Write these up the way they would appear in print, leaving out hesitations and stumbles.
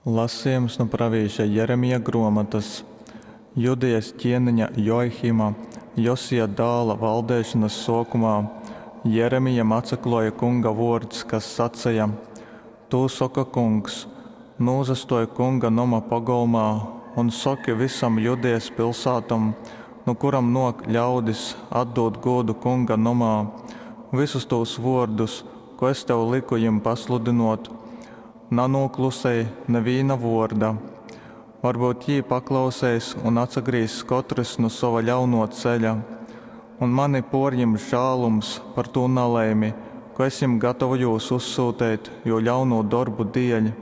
Lasejums nu pravīša Jeremija grōmotas. Judejas ķieneņa Joahima, Josija dāla, valdeišonas sōkumā Jeremijam atsaklōja Kunga vōrds, kas saceja, Tū soka Kungs, Nūsastōj Kunga noma pogolmā un soki vysom Judeas pilsātom, nu kurom nōk ļaudis atdūt gūdu Kunga nomā, vysus tūs vōrdus, kū es tev lyku jim pasludynōt. Nanūklusej nivīna vōrda. Varbyut jī paklauseis un atsagrīzs kotrys nu sova ļaunō ceļa, un mani pōrjims žālums par tū nalaimi, kū es jim gatavojūs uzsyuteit jū ļaunū dorbu dieļ.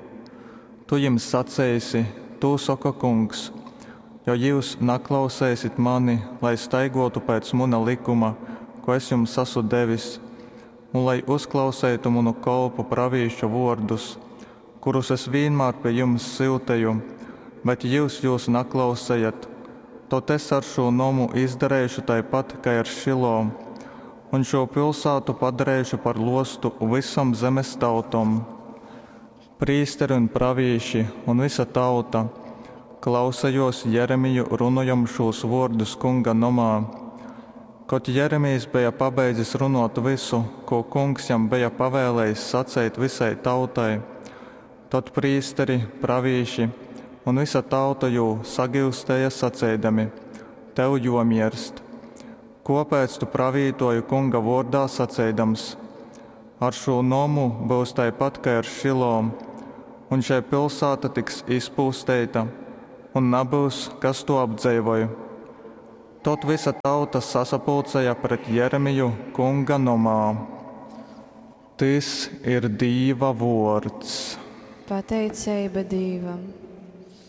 Tu jim saceisi, Tū soka Kungs, Jo jyus naklauseisit mani, lai staigōtu pēc muna lykuma, kū es jums asu devis, un lai uzklauseitu munu kolpu pravīšu vōrdus, kurus es vīnmār pi jums syuteju, bet jyus jūs naklausejat, tod es ar šū nomu izdareišu taipat kai ar Šilo, un šū pilsātu padareišu par lōstu vysom zemes tautom. Prīsteri un pravīši un vysa tauta klausejōs Jeremiju runojam šūs vōrdus Kunga nomā. Kod Jeremijs beja pabeidzis runōt vysu, kū Kungs jam beja pavēlējis saceit vysai tautai, tod prīsteri, pravīši un vysa tauta jū sagyustēja saceidami, Tev jōmierst! Kōpēc tu pravītōji Kunga vōrdā saceidams, Ar šū nomu byus taipat kai ar Šilo, un šei pilsāta tiks izpūsteita, un nabyus, kas tū apdzeivoj? Tod vysa tauta sasapulcēja pret Jeremiju Kunga nomā. Tys ir Dīva vōrds. Pateiceiba Dīvam.